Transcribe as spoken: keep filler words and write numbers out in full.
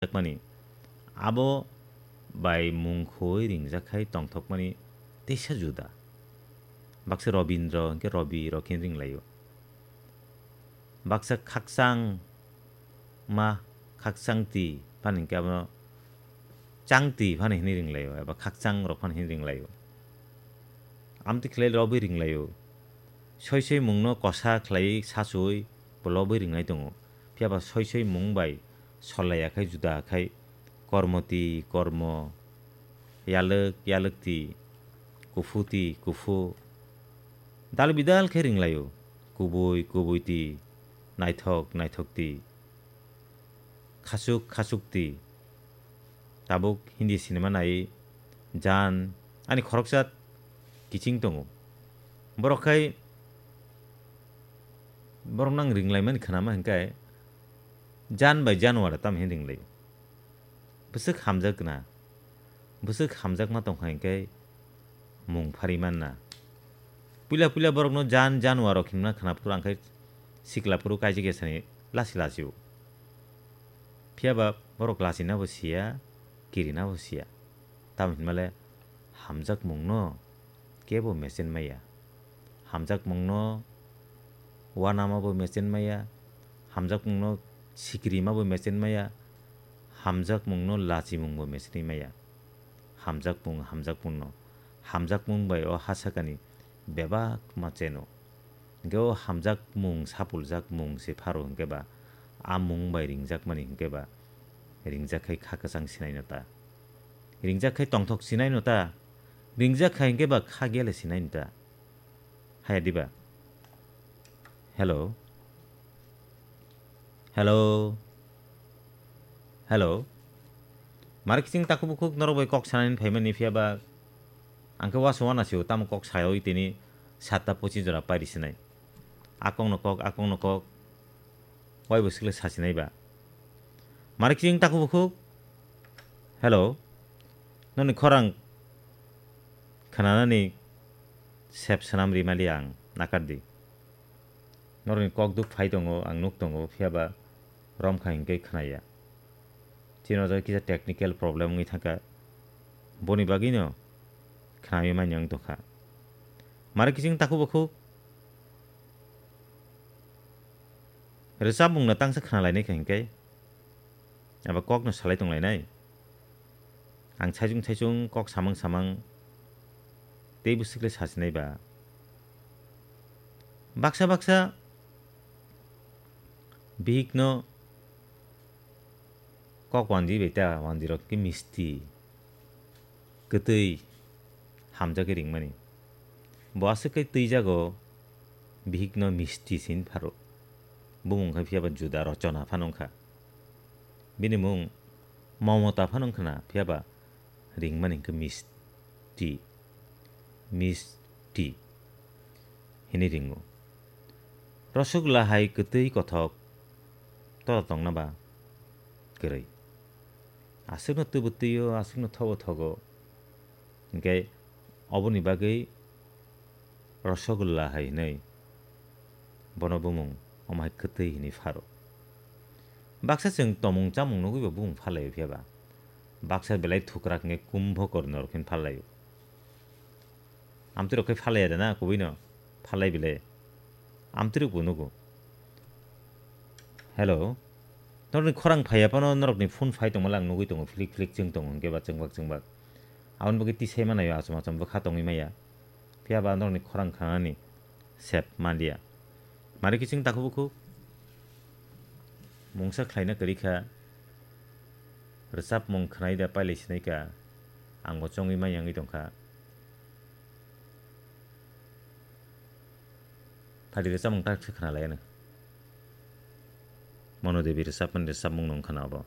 ringjakmani, abo bai mung khoi ringjak khai tongthokmani teisa juda. Baksa Robindro hwnkhe Robi rok khe ringlaio. Baksa khakchang ma, khakchang ti phano hwnkhe abono chang ti phano hinwi ringlaio, eba khakchang rok phano hinwi ringlaio. Amtwi khlai lobwi ringlaio. Soi soi mungno kosa khlaiwi sachoi bo lobwi ringnai tongo. Phiya ba soi soi mung bai sol laiya khai juda khai kormo ti kormo, yalwk yalwk ti, kuphu ti kuphu, dal bidal khe ringlaio. Kubui kubui ti, naithok naithok ti, khachuk khachuk ti. Tabuk Hindi cinema nai Jan, ani khoroksa kiching tongo. Borok khai, borok nang ringlaimani khnama hwnkhe Jan bai January tamo hinwi ringlaio. Bwswk hamjakna, bwswk hamjakma tongkha hwnkhe mung phari manna. Puila puila borokno Jan January rok himna khna phuru ang khai sikla phuru kaisa kaisani lasi lasio. Phiya ba borok lachina bo siya, kirina bo siya. Tamo hinmale hamjakmungno kebo mechenmaya. Hamjakmungno uanama bo mechenmaya. Hamjakmungno sikirima bo mechenmaya. Hamjakmungno lachimung bo mechenmaya. Hamjakmung, hamjakmungno. Hamjakmung bai o hasakani bebak ma cheno. Hingke o hamjakmung, sapuljakmung se pharo hingke ba, a mung bai ringjakmani hingke ba, ringjak khai kha kwchang sinai no ta. Ringjak khai tongthok sinai no ta. Ringjak khai hingke ba kha gele sinai no ta. Haya diba? Hello? Hello? Hello? Mari kiching takhuk bukhuk norok bai kok sanani phaimani phiya ba ang khe uansuk uanasio tamo kok sayawi tini satta pochis jora pairi sinai. Akokno kok, akokno kok. Waibo sikle sasinai ba. Mari kiching takhuk bukhuk. Hello. Noni khorang khnanani sep swnam rimali ang nakardi. Norokni kok duk phai tongo, ang nuk tongo, phiya ba romkha hinkhe khnaya. Chini o jaga kisa technical problem wngwi thangkha. Boni bagwino khnaywi manya wng tongkha. Mari kiching takhuk bukhuk rwchapmungno tangsa khnalainai kha hinkhe, eba kokno salai tonglainai. Ang saichung saichung kok samang samang tei bwswk le sasinai ba. Baksa baksa bihikno kok wanji bai ta, wanjirok khe misti, kwtwi, hamjakhe ringmani. Bo aswk khe twijago bihikno misti se hin pharo. Bumung khe phiya ba juda rochona phano wngkha. Bini mung Momota phano wngkhna, phiya ba ringmani hwnkhe misti, misti hinwi ringo. Rosogula hai kwtwi kothok, toro tongna ba kwrwi. Aswkno twbo twio, aswkno thobo thogo. Hinkhe oboni bagwi Rosogula hai hinwi bono bumung omo hai kwtwi hinwi pharo. Baksa chwng tomung chamung nugwi bo bumung phalaio phiya ba. Baksa belai thukrak hwnkhe kumbhokor norok hin phalaio. Amtwirok khe phalaiya de na kubuino? Phalai bile. Amtwirok bo nugo. Hello. Norokni khorang phaiya phano norokni phone phai tongmala ang nugwi tongo, philik philik chwng tongo hinkhe ba chwngbak chwngbak. Aboni bagwi tisai manaio achom achom bwkha tongwi maya. Phiya ba norokni khorang khanani sep manliya. Mari kiching takhuk bukhuk mungsa khlaina kwrwi kha, rwchapmung khwnai da pailai sinai kha, ang bo chongwi manya wngwi tongkha. Phadi rwchapmung tak se khna lai ano. Mono Devi rwchapmani rwchapmung no wngkha na abo.